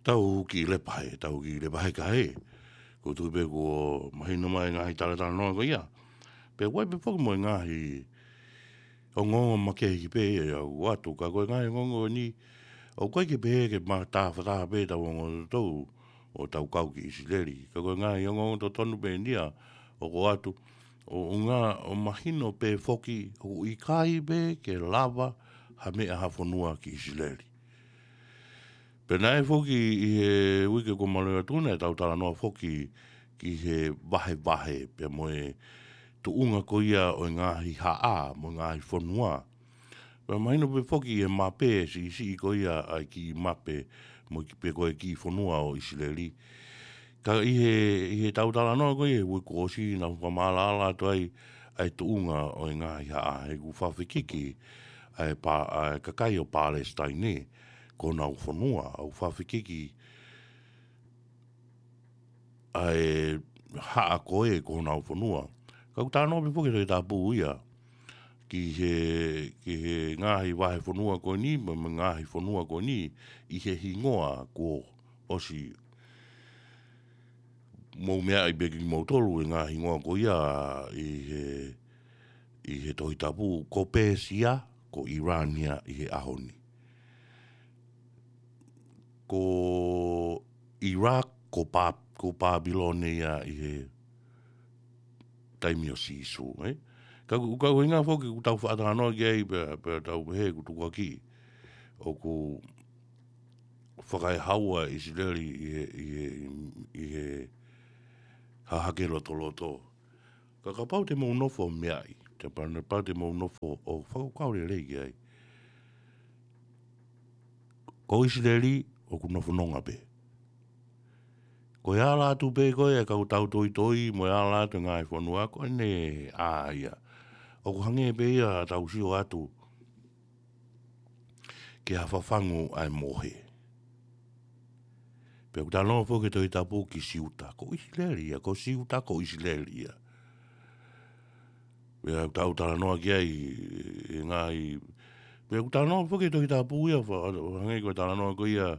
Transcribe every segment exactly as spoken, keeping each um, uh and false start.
Tau kiʻi lepa he, tau kiʻi lepa he kae. Ko e tuʻu pē kuo mahino mai e ngaahi talatalanoa ko ia. Pea ʻoku ʻi ai pē foki mo e ngaahi ongoongo makehe pē ia ʻoku ʻoatu, ka ko e ngaahi ongoongo ni, ʻoku ʻikai ke pehē ke ma-, tāfataha pē tau ongoongo ʻoku tau kau ki ʻIsileli. Ka ko e ngaahi ongoongo totonu pē eni ia ʻoku ʻoatu, ʻo, ʻo ngā, ʻo mahino pē foki, ʻoku ʻikai pē ke lava ha meʻa ha fonua ki ʻIsileli. Pea naʻe foki ʻi he uike kuo maliu atu naʻe tau talanoa foki ki he vahevahe, pea mo e tuʻunga ko ia ʻo e ngaahi haʻa, mo e ngaahi fonua. Pea mahino pē foki ʻi he mape, siʻisiʻi ko ia ʻa e kiʻi mape, mo e ki-, pe ko e kiʻi fonua ʻo ʻIsileli. Ka ʻi he, ʻi he tau talanoa ko ia, ʻi he uike kuo ʻosi naʻa ku fakamaʻalaʻala atu ai, ʻa e tuʻunga ʻo e ngaahi haʻa, he ʻoku fakafekiki ʻa e pa-, ʻa e kakai ʻo Palesitaine, ko honau fonua, ʻoku fakafekiki ʻa e haʻa ko ē ko honau fonua. Ka ʻoku talanoa pē foki e Tohi Tapu ia, ki he, ki he ngaahi vahefonua ko eni, mo, mo e ngaahi fonua ko eni, ʻi he hingoa kuo ʻosi mou meaʻi pē kimoutolu e ngaahi hingoa ko ia ʻi he, ʻi he Tohi Tapu, ko Pēsia, ko ʻIlani ia ʻi he ʻaho ni. Ko Iraq, ko Pā-, ko Pāpilone ia ʻi he taimi ʻo Sīsū, ē? Ka ʻoku, ka ʻoku ʻuhinga foki ʻoku tau faʻa talanoa ki ai pea, pea tau pehē ʻoku tukuakiʻi ʻoku fakaehaua ʻIsileli ʻi he, ʻi he, ʻi he hahake lotoloto. Ka kapau te mou nofo meaʻi, te pa-, kapau te mou nofo ʻo fakakaukau lelei ki ai. Ko ʻIsileli ʻoku nofo nonga pē. Ko e ala atu pē ko ē ʻa e kau tautoitoi mo e ala atu e ngaahi fonua ko eni ʻa ia. ʻOku hangē pē ia ʻetau sio atu ki ha fafangu ʻa e mohe. Pea ʻoku talanoa foki e Tohi Tapu ki Siuta, ko ʻIsileli ia, ko Siuta ko ʻIsileli ia. Pea ʻoku tau talanoa ki ai e ngaahi, pea ʻoku talanoa foki e Tohi Tapu ia, fa-, hangē ko e talanoa ko ia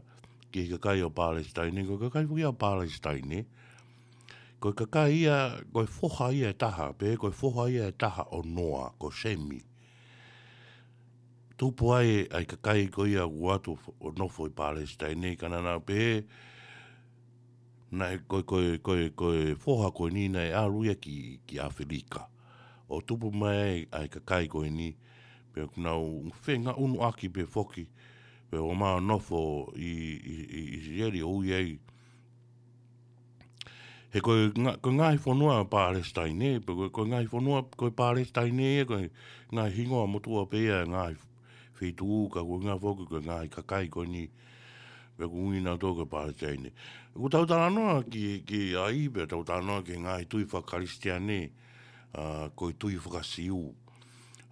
ki he kakai ʻo Palesitaine, ko e kakai foki ia ʻo Palesitaine. Ko e kakai ia, ko e foha ia ʻe taha, pe ko e foha ia ʻe taha ʻo Noa, ko Semi. Tupu ai ʻa e kakai ko ia ʻoku ʻoatu ʻo nofo ʻi Palesitaine, ka naʻa nau pehē, naʻe ko e, ko e, ko e, ko e foha ko eni naʻe ʻalu ia ki, ki ʻAfilika. ʻO tupu mai ai ʻa e kakai ko eni, pea ʻoku nau fengaʻunuʻaki pē foki, pea ʻomai ʻo nofo ʻi, ʻi, ʻi, ʻi ʻIsileli ʻo ui ai. He ko e nga-, ko e ngaahi fonua Palesitaine, pe ko e, ko e ngaahi fonua, ko e Palesitaine ia, ko e ngaahi hingoa motuʻa pē ia, ngaahi feituʻu, ka ko e ʻuhinga foki ko e ngaahi kakai ko eni, pea ʻoku ui nautolu ko e Palesitaine. ʻOku tau talanoa ki, ki ai, pea tau talanoa ki he ngaahi tui fakakalisitiane, ʻa, ko e tui faka-Siu,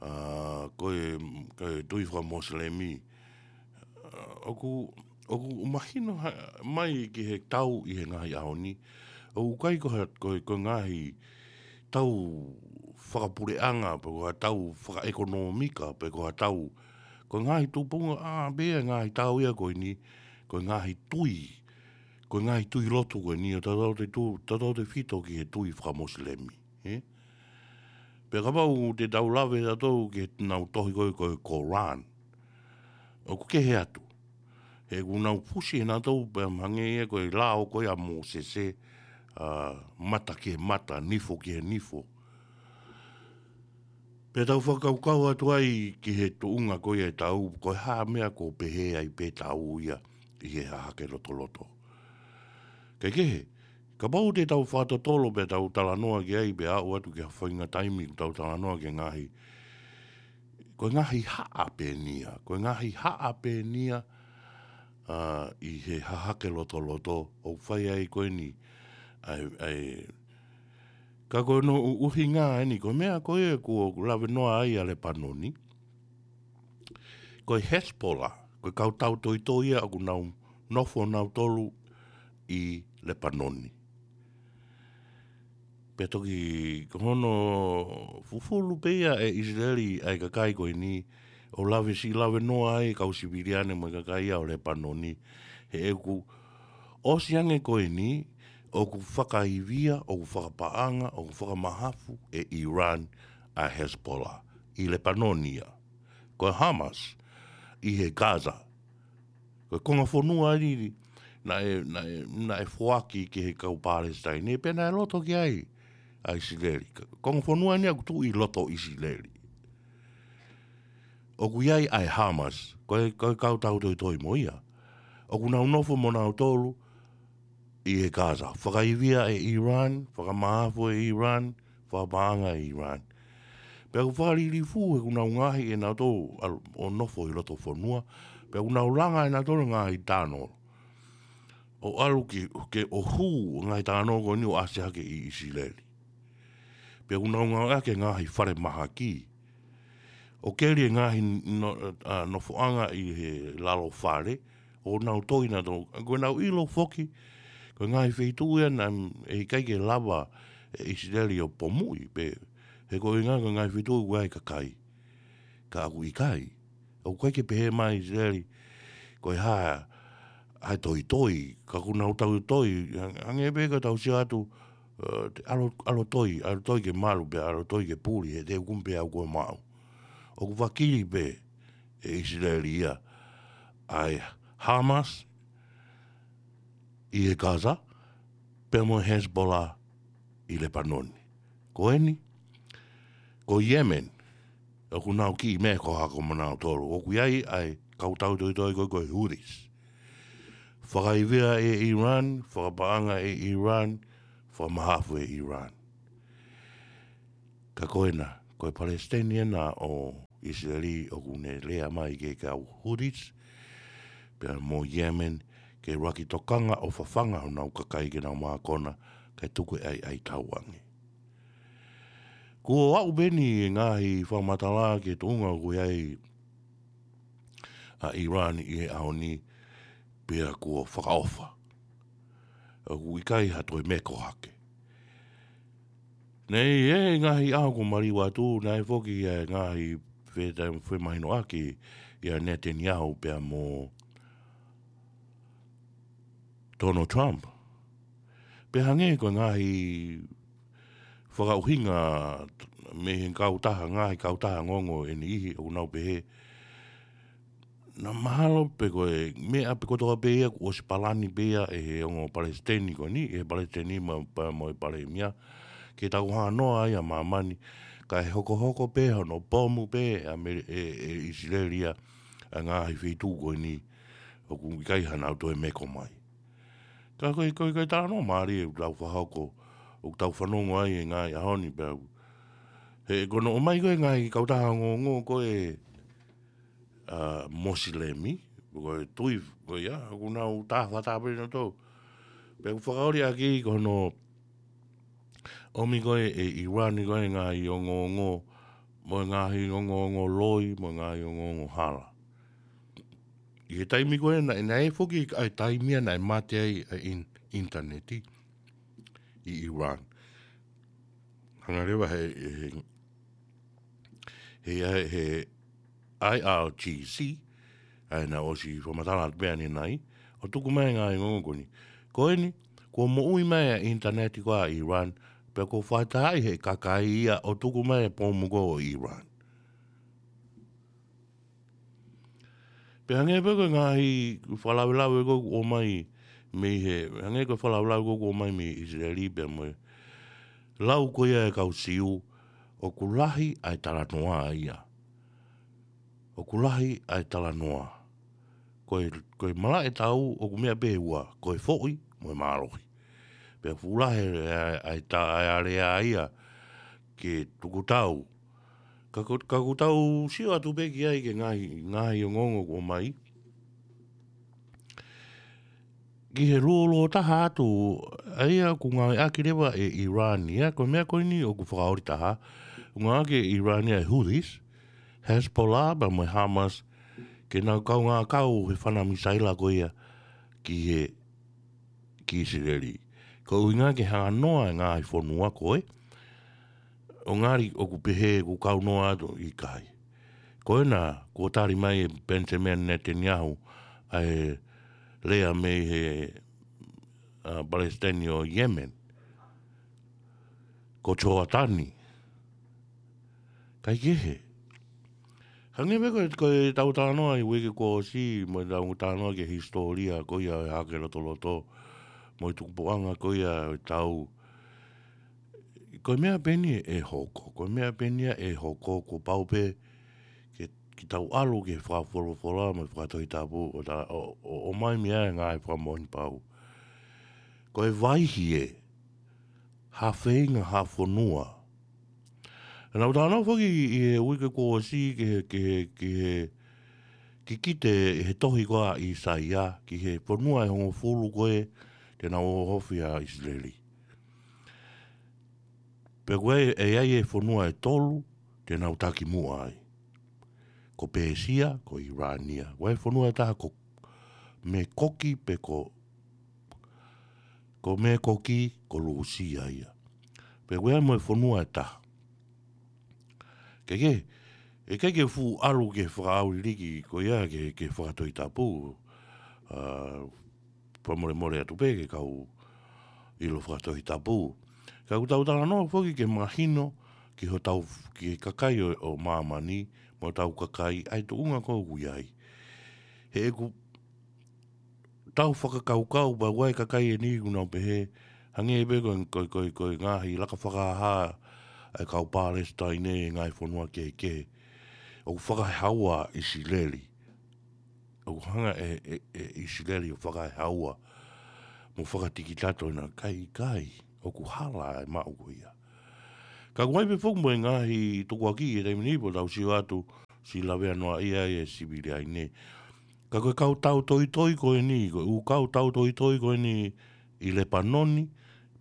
ʻa, ko e, ko e tui faka-Mosilemi. ʻA, ʻoku, ʻoku mahino ha-, mai ki he tau ʻi he ngaahi ʻaho ni. ʻOku ʻikai ko ha-, ko e, ko e ngaahi tau fakapuleʻanga, pe ko ha tau fakaʻekonōmika, pe ko ha tau, ko e ngaahi tupunga, ʻa, pea ngaahi tau ia ko eni, ko e ngaahi tui, ko e ngaahi tui lotu ko eni, ʻo tautau te tu-, tautau te fito ki he tui faka-Mosilemi, ē? Pea kapau te tau lave tautau ki he nau tohi ko e, ko e Koran. ʻOku kehe atu. He ʻoku nau fusi ʻe nautolu pea mahalo ia ko e lao ko ia ʻa Mōsese, ʻa, mata ki he mata, nifo ki he nifo. Pea tau fakakaukau atu ai ki he tuʻunga ko ia ʻetau, ko e hā e meʻa ʻoku pehē ai pē ʻetau ia ʻi he hahake lotoloto. Kae kehe, kapau te tau fakatotolo pea tau talanoa ki ai pea aʻu atu ki ha faʻahinga taimi ʻoku tau talanoa ki he ngaahi, ko e ngaahi haʻa pē eni ia, ko e ngaahi haʻa pē eni ia, ʻa, ʻi he hahake lotoloto, ʻoku fai ai ko eni, ʻa e, ʻa e, ka ko hono ʻu-, ʻuhinga eni, ko e meʻa ko ē ʻoku lave noa ai ʻa Lepanoni, ko e Hezbollah, ko e kau tautoitoi ia ʻoku nau nofo nautolu ʻi Lepanoni. Pea toki ko hono fufulu pē ia ʻe ʻIsileli ʻa e kakai ko eni, ʻo lave siʻi lave noa ai kau siviliane mo e kakai ia ʻo Lepanoni, he ʻoku ʻOsi ange ko eni, ʻoku fakaivia, ʻoku fakapaʻanga, ʻoku fakamahafu ʻe ʻIran ʻa Hezbollah ʻi Lepanoni ia. Ko Hamas ʻi he Gaza. Ko e konga fonua ʻeni, naʻe, naʻe, naʻe foaki ki he kau Palesitaine, pea naʻe loto ki ai ʻa ʻIsileli. Konga fonua ʻeni ʻoku tuʻu ʻi loto ʻIsileli. ʻOku ʻi ai ʻa e Hamas, ko e, ko e kau tautoitoi mo ia. ʻOku nau nofo mo nautolu ʻi he Gaza. Fakaivia ʻe ʻIran, fakamahafu ʻe ʻIran, fakapaʻanga ʻe ʻIran. Pea ʻoku fakalilifu he ʻoku nau ngaohi ʻe nautolu ʻalu ʻo nofo ʻi loto fonua. Pea ʻoku nau langa ʻe nautolu ngaahi tano. ʻO ʻalu ki, ke ʻo hū ngaahi tano ko eni ʻo ʻasi hake ʻi ʻIsileli. Pea ʻoku nau ngāueʻaki e ngaahi fale mahaki. ʻO keli e ngaahi no-, ʻa, nofoʻanga ʻi he lalo fale, ʻo nau toi nautolu. Ko e nau ʻilo foki, ko e ngaahi feituʻu ia naʻe ʻikai ke lava ʻe ʻIsileli ʻo pomuʻi, pe he ko e ngaahi, ko e ngaahi feituʻu ʻoku ʻi ai e kakai. Ka ʻoku ʻikai. ʻOku ʻikai ke pehē mai ʻIsileli, ko e hā, ʻa e toitoi, ka ʻoku nau tau toi, hang-, hangē pē ka tau sio atu, ʻe, te ʻalu, ʻalu toi, ʻalu toi ke malu pea ʻalu toi ke puli, he te u kumi pē au ko e maʻu. ʻOku vakili pē ʻe ʻIsileli ia, ʻa e Hamas ʻi he Gaza, pea mo e Hezbollah ʻi Lepanoni. Ko eni, ko Yemen, ʻoku nau kiʻi meʻa ko hako mo nautolu. ʻOku ʻi ai ʻa e kau tautoitoi ko e, ko e Houthis. Fakaivia ʻe ʻIran, fakapaʻanga ʻe ʻIran, fakamahafu ʻe ʻIran. Ka ko ena, ko e Palesitaine ena ʻo ʻIsileli ʻoku ne lea mai ki he kau Houthis, pea mo Yemen, ke ʻuluaki tokanga ʻo fafanga honau kakai ke nau mākona, kae tuku e ʻaiʻai tauange. Kuo aʻu pē eni e ngaahi fakamatala ki he tuʻunga ʻoku ʻi ai ʻa ʻIran ʻi he ʻaho ni, pea kuo fakaʻofa. ʻOku ʻikai ha toe meko hake. Naʻe ʻi he ngaahi ʻaho kuo maliu atu, naʻe foki ʻa e ngaahi feta-, femahinoʻaki ʻia Netanyahu pea mo Donald Trump. Pea hangē ko e ngaahi fakaʻuhinga mei he kautaha, ngaahi kautaha ongoongo ʻe niʻihi ʻoku nau pehē, naʻa mahalo pē ko e meʻa pē kotoa pē ia kuo ʻosi palani pē ia ʻe he ongo palesiteni ko eni, ʻe he palesiteni mo, pea mo e palēmia, ke tau hanoa ai ʻa māmani, kae hokohoko pē hono pomu pē ʻa Mele-, ʻe, ʻe ʻIsileli ia ʻa e ngaahi feituʻu ko eni, ʻoku ʻikai haʻanau toe meko mai. Ka ko e, ko e, ko e talanoa mālie ʻoku tau fakahoko, ʻoku tau fanongo ai he ngaahi ʻaho ni pea. He ko hono ʻomai ko e ngaahi kautaha ongoongo ko e, ʻa, Mosilemi, ko e tui, ko ia, ʻoku nau tā fakatāpē nautolu. Pea ʻoku fakaoli ʻaki ko hono ʻomi ko e ʻe ʻIran ko e ngaahi ongoongo, mo e ngaahi ongoongo loi, mo e ngaahi ongoongo hala. ʻI he taimi ko ē naʻe, naʻe foki ʻa e taimi ia naʻe mate ai ʻa e in-, ʻinitaneti ʻi ʻIran. Hanga leva he, he, he, he, he I R G C, ʻa ia naʻe ʻosi fakamatala atu pē ʻanenai, ʻo tuku mai e ngaahi ongoongo ko eni. Ko eni, kuo moʻui mai ʻa e ʻinitaneti ko ia ʻi ʻIran, pea kuo fakatahaʻi he kakai ia ʻo tuku mai e pomu ko ē ʻo ʻIran. Pea hangē pē ko e ngaahi fakalavelave ko ē kuo ʻomai mei he, hangē ko e fakalavelave ko ē kuo ʻomai mei ʻIsileli pea mo e lau ko ia ʻa e kau Siu, ʻoku lahi ʻa e talanoa ia. ʻOku lahi ʻa e talanoa. Ko e, ko e malaʻe tau ʻoku meʻa pē ʻe ua, ko e foʻi mo e mālohi. Pea fuʻu lahi ʻa e, ʻa e ta-, ʻa e alea ia ke tuku tau. Ka ko, ka ʻoku tau sio atu pē ki ai ki he ngaahi, ngaahi ongoongo kuo ʻomai. Ki he lōloa taha atu, ʻa ia ʻoku ngāueʻaki leva ʻe ʻIran ia, ko e meʻa ko eni ʻoku fakaoli taha, ʻoku ngāueʻaki ʻe ʻIran ia e Houthis, Hezbollah, pea mo e Hamas, ke nau kaungā kau he fana misaila ko ia ki he, ki ʻIsileli. Ko e ʻuhinga ke hanganoa e ngaahi fonua ko ē, ʻo ngali ʻoku pehē ʻoku kaunoa atu, ʻikai. Ko ena, kuo tali mai ʻe Benjamin Netanyahu ʻa e lea mei he ʻa Palesiteni ʻo Yemen, ko Joatani. Kae kehe. Hangē pē ko e, ko e tau talanoa ʻi he uike kuo ʻosi, mo e tau talanoa ki he hisitōlia ko ia ʻo e Hahake Lotoloto, mo e tukupuʻanga ko ia ʻo e tau. Ko e meʻa pē eni ʻe hoko, ko e meʻa pē eni ia ʻe hoko, kuo pau pē ke, ke tau ʻalu ki he fakafolofola mo e fakatohitapu ʻo ta-, ʻo, ʻo, ʻomai mei ai e ngaahi fakamoʻoni pau. Ko e vaihi ē, ha feinga ha fonua. Naʻa ku talanoa foki ʻi he uike kuo ʻosi ki he, ki he, ki he, kikite ʻi he tohi ko ia ʻa ʻAisea, ki he fonua ʻe hongofulu ko ē te nau ʻohofi ʻa ʻIsileli. Pea ko e, ʻe ʻi ai e fonua ʻe tolu te nau takimuʻa ai. Ko Pēsia, ko ʻIlani ia. Ko e fonua ʻe taha ko Mekoki pe ko, ko Mekoki, ko Lūsia ia. Pea ko e mo e fonua ʻe taha. Ke ke, ʻe ke ke fuʻu ʻalu ke fakaʻauliliki ko ia ke, ke fakatohitapu, ʻa, fakamolemole atu pē ke kau ʻilo fakatohitapu. Ka ʻoku tau talanoa foki ke mahino ki hotau, ki he kakai ʻo, ʻo māmani, mo hotau kakai, ʻa e tuʻunga ko ē ʻoku ʻi ai. He ʻeku tau fakakaukau pē ʻa e kakai ʻe niʻihi ʻoku nau pehē, hangē pē ko e, ko e, ko e, ko e ngaahi laka fakahā ʻa e kau Palesitaine ʻi he ngaahi fonua kehekehe. ʻOku fakahaua ʻIsileli. ʻOku hanga ʻe, ʻe, ʻe ʻIsileli ʻo fakahaua mo fakatikitato ʻena, ka ʻikai, ʻoku hala e maʻu ko ia. Ka ʻoku ʻi ai pē foki mo e ngaahi tukuakiʻi ʻi he taimi ni pea tau sio atu, siʻi laveanoaʻia ʻa e siviliaine. Ka ko e kau tautoitoi ko eni, ko e ʻū kau tautoitoi ko eni ʻi Lepanoni,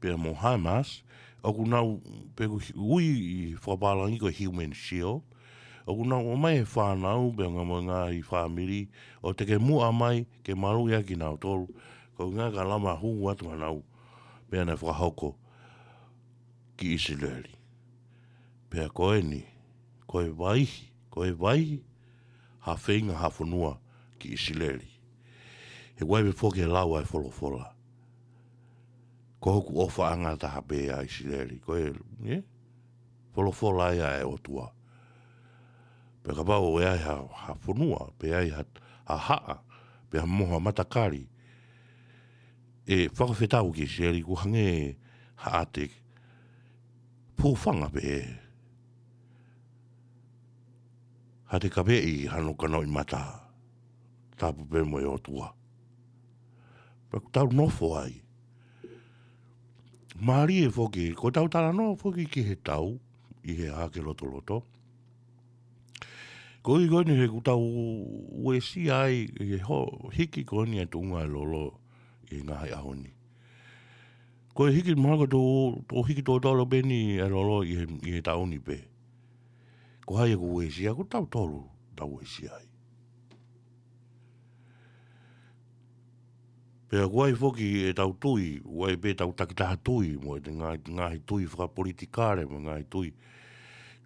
pea mo Hamas, ʻoku nau, pea ʻoku ui ʻi he fakapālangi ko e Human Shield, ʻoku nau ʻomai e fānau, pea mo e ngaahi fāmili, ʻo takimuʻa mai ke maluʻi ʻa kinautolu, ko e ʻuhinga ka lava hū atu hanau, pea naʻe fakahoko ki ʻIsileli. Pea ko eni, ko e vaihi, ko e vaihi, ha feinga ha fonua ki ʻIsileli. He ʻoku ʻi ai pē foki e lau ʻa e folofola. Ko hoku ʻofaʻanga taha pē ʻa ʻIsileli. Ko e, ē? Folofola ia ʻa e ʻOtua. Pea kapau ʻe ʻi ai ha, ha fonua, pe ʻi ai ha, ha haʻa, pe ha moha matakali, ʻe fakafetau ki ʻIsileli ʻoku hangē ha ʻate pūfanga pē ē. Ha ʻate kaveʻi hano kanoʻi mata. Tapu pē mo e ʻOtua. Pea ʻoku tau nofo ai. Mālie foki, ko ʻetau talanoa foki ki he tau, ʻi he Hahake Lotoloto. Ko e ʻuhi ko eni he ʻoku tau uesia ai, ʻi he ho-, hiki ko eni ʻa e tuʻunga ʻa e lolo ʻi he ngaahi ʻaho ni. Ko e hiki mahalo ko e tō, tō hiki tōtōlo pē eni ʻa e lolo ʻi he, ʻi he taʻu ni pē. Ko hai ʻoku uesia, ko tautolu tau uesia ai. Pea ʻoku ʻi ai foki ʻetau tui, ʻoku ʻi ai pē ʻetau takitaha tui, mo e ngaahi, ngaahi tui fakapolitikale, mo e ngaahi tui.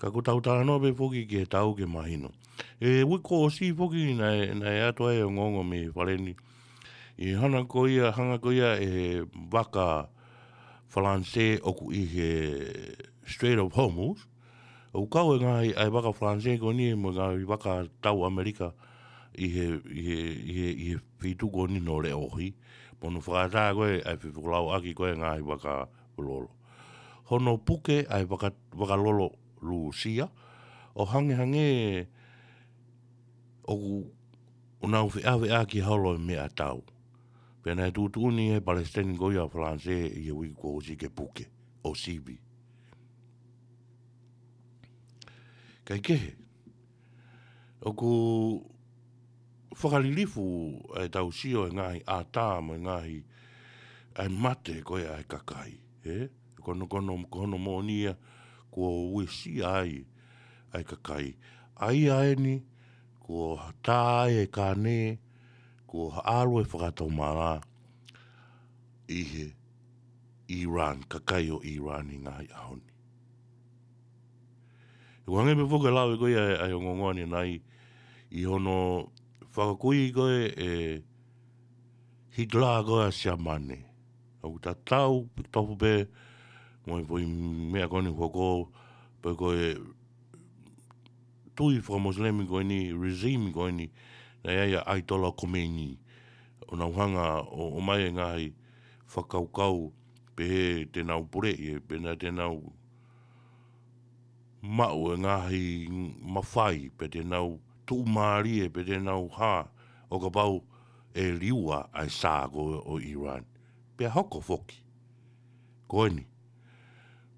Ka ko ʻetau talanoa pē foki ki he tau ke mahino. ʻI he uike kuo ʻosi foki naʻe, naʻe ʻatu ai e ongoongo mei he fale ni. ʻI he hanga ko ia, hanga ko ia ʻe he vaka Falanisē ʻoku ʻi he Strait of Hormuz, ʻoku kau e ngaahi, ʻa e vaka Falanisē ko eni mo e ngaahi vaka tau ʻAmelika ʻi he, ʻi he, ʻi he, ʻi he feituʻu ko eni ʻo leʻohi. Mo hono fakaʻatā ko ē ʻa e fefokolauʻaki ko ē ngaahi vaka lolo. Hono puke ʻa e vaka, vaka lolo Lūsia, ʻo hangehangē ʻoku, ʻoku nau feʻaveʻaki holo e meʻatau. Pea naʻe tuʻutuʻuni ʻe he Palesiteni ko ia ʻo Falanisē ʻi he uike kuo ʻosi ke puke, ʻo sivi. Kae kehe, ʻoku fakalilifu ʻa ʻetau sio he ngaahi ʻatā mo e ngaahi ʻa e mate ko ē ʻa e kakai, ē? Ko hono, ko hono, ko hono moʻoni ia kuo uesia ai ʻa e kakai. ʻA ia eni, kuo tā ai e kāne, kuo ʻalu e fakatomala ʻi he ʻIlani, kakai ʻo ʻIlani ʻi he ngaahi ʻaho ni. ʻOku hangē pē foki e lau ē ko ia ʻa e ongoongo ʻanenai ʻi hono fakakui ko ē ʻe Hitler ko ē ʻa Siamane. ʻOku tatau tofu pē mo e foʻi meʻa ko eni hoko, pe ko e tui fakamosilemi ko eni, regime ko eni, naʻe ʻi ai ʻa e ʻAitola Khomeini. ʻO nau hanga ʻo, ʻomai e ngaahi fakakaukau, pehē te nau puleʻi, pe naʻa te nau maʻu e ngaahi mafai, pe te nau tuʻumālie, pe te nau hā, ʻo kapau ʻe liua ʻa e Shah ko ē ʻo Iran. Pea hoko foki. Ko eni,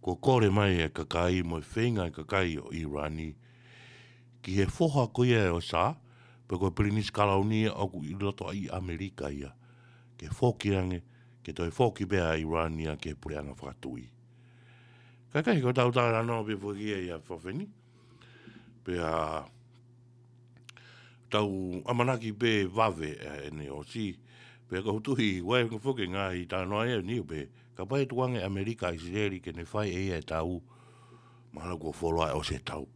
kuo kole mai e kakai mo e feinga e kakai ʻo Iran ni ki he foha ko ia ʻo e Shah, pe ko e Pilinisi Kalauni ia ʻoku ʻi loto ʻi ʻAmelika ia, ke foki ange, ke toe foki pē ʻa Iran ia ki he puleʻanga fakatuʻi. Kae kehe, ko ʻetau talanoa pē foki ia ʻi he efiafi ni. Pea tau ʻamanaki pē vave ʻa ʻene ʻosi. Pea ko u tui, ʻoku ʻi ai foki e ngaahi talanoa ia ni pē, kapau ʻe tuku ange ʻe ʻAmelika ʻa ʻIsileli ke ne fai ʻe ia e tau, mahalo kuo fuoloa ʻosi e tau.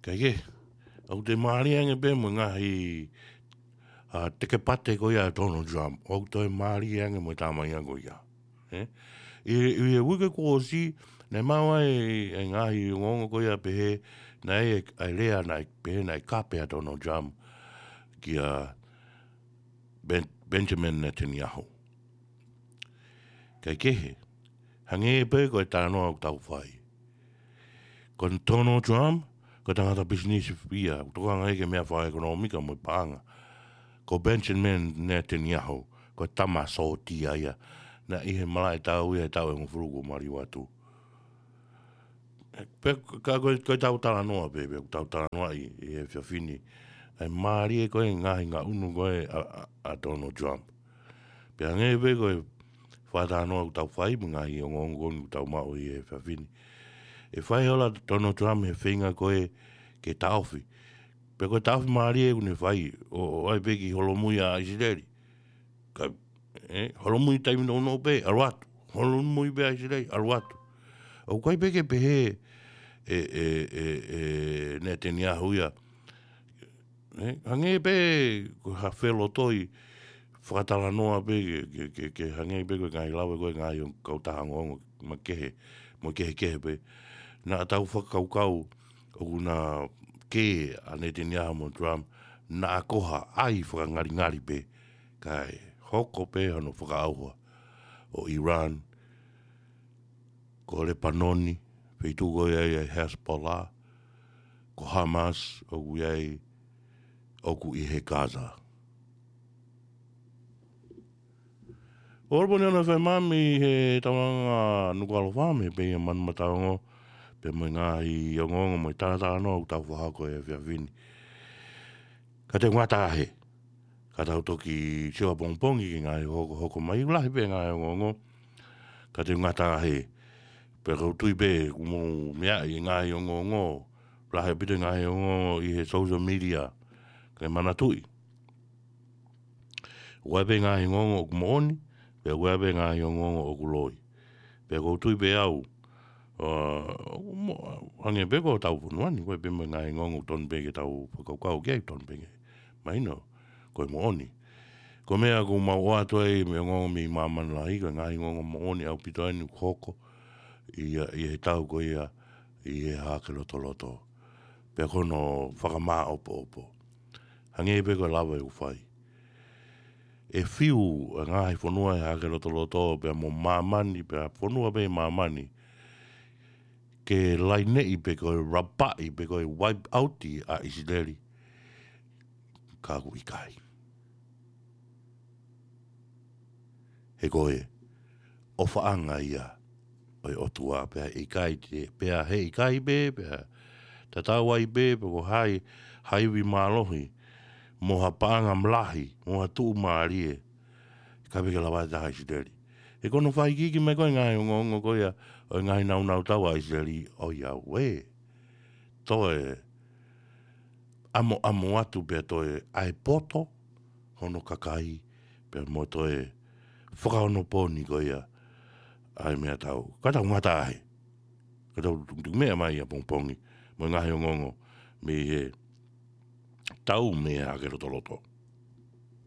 Kae kehe, ʻoku toe mālie ange pē mo e ngaahi, ʻa, tekepate ko ia ʻa Donald Trump. ʻOku toe mālie ange mo e tamaiki ko ia. ʻE? ʻI, ʻi he uike kuo ʻosi, naʻe maʻu ai e ngaahi ongoongo ko ia pehē, naʻe ʻi ai e lea naʻe pehē naʻe kape ʻa Donald Trump kia Ben-, Benjamin Netanyahu. Kae kehe, hangē pē ko e talanoa ʻoku tau fai. Ko Donald Trump, ko e tangata pisinisi ia, ʻoku tokanga ia ki he meʻa fakaʻekonōmika mo e paʻanga. Ko Benjamin Netanyahu, ko e tama sōtia ia, naʻe ʻi he malaʻe tau ia he taʻu ʻe hongofulu kuo maliu atu. Pea ka ko, ko ʻetau talanoa pē, pea ʻoku tau talanoaʻi ʻi he efiafi ni, ʻa e mālie ko ē ngaahi ngaʻunu ko ē ʻa, ʻa, ʻa Donald Trump. Pea hangē pē ko e fakatalanoa ʻoku tau fai mo e ngaahi ongoongo ko eni ʻoku tau maʻu ʻi he efiafi ni. ʻE fai ʻe Donald Trump e feinga ko ē ke taʻofi. Pea ko e taʻofi mālie ʻoku ne fai, ʻo, ʻo ʻai pē ke holomui ʻa ʻIsileli. Ka, ʻe, holomui taimi nounou pē, ʻalu atu. Holomui pē ʻa ʻIsileli, ʻalu atu. ʻOku ʻikai pē ke pehē ʻe, ʻe, ʻe, ʻe Netanyahu ia. ʻE, hangē pē ko ha felotoi fakatalanoa pē ke, ke, ke, ke hangē pē ko e ngaahi lave ko ē ngaahi kautaha ongoongo makehe, mo kehekehe pē. Naʻa tau fakakaukau ʻoku na kē ʻa Netanyahu mo Trump, naʻa ko ha ʻai fakangalingali pē, kae hoko pē hono fakaʻauha ʻo Iran, ko Lepanoni, feituʻu ko ia ʻa e Hezbollah, ko Hamas, ʻoku ʻi ai, ʻoku ʻi he Gaza. ʻOku ʻalu pē eni ʻo fai mai he tauanga Nukuʻalofa mei he Pea Manu Mataongo, pea mo e ngaahi ongoongo mo e talatalanoa ʻoku tau fakahoko he efiafi ni. Ka te u ngata hē, ka tau toki sio ʻapongipongi ki he ngaahi hokohoko mai, lahi pē ngaahi ongoongo, ka te u ngata hē, pea ʻoku ou tui pē ʻoku mou meaʻi e ngaahi ongoongo, lahi ʻaupito e ngaahi ongoongo ʻi he social media, kae manatuʻi. ʻOku ʻi ai pē ngaahi ongoongo ʻoku moʻoni, pea ʻoku ʻi ai pē ngaahi ongoongo ʻoku loi. Pea ʻoku ou tui pē au, ʻa, ʻoku mo-, hangē pē ko hotau fonua ni, ʻoku ʻi ai pē mo e ngaahi ongoongo ʻoku tonu pē ke tau fakakaukau ki ai, ʻoku tonu pē ke mahino ko e moʻoni. Ko e meʻa ʻoku mau ʻoatu ai mo e ongoongo mei māmani lahi, ko e ngaahi ongoongo moʻoni ʻaupito eni ʻoku hoko ʻi, ʻi he tau ko ia ʻi he Hahake Lotoloto. Pea ko hono fakamāʻopoʻopo. Hangē pē ko e lave ʻoku fai. ʻE fiu e ngaahi fonua he Hahake Lotoloto, pea mo māmani, pea fonua pē ʻi māmani, ke laineʻi pe ko e rapaʻi, pe ko e wipe out ʻa ʻIsileli. Ka ʻoku ʻikai. He ko e ʻofaʻanga ia ʻo e ʻOtua, pea ʻikai te, pea he ʻikai pē, pea tatau ai pē, pe ko hai, ha ivi mālohi, mo ha paʻanga lahi, mo ha tuʻumālie, ʻikai pē ke lava ʻe ha taha ʻIsileli. He ko hono fakaikiiki mai ko e ngaahi ongoongo ko ia, ʻo e ngaahi nāunau tau ʻa ʻIsileli, ʻoiauē. Toe ʻamoʻamo atu pea toe ʻai poto hono kakai, pea mo toe fakaonopōni ko ia ʻa e meʻatau. Ka tau ngata hē. Ka tau tukutuku meʻa mai ʻapongipongi, mo e ngaahi ongoongo mei he tau mei he Hahake Lotoloto.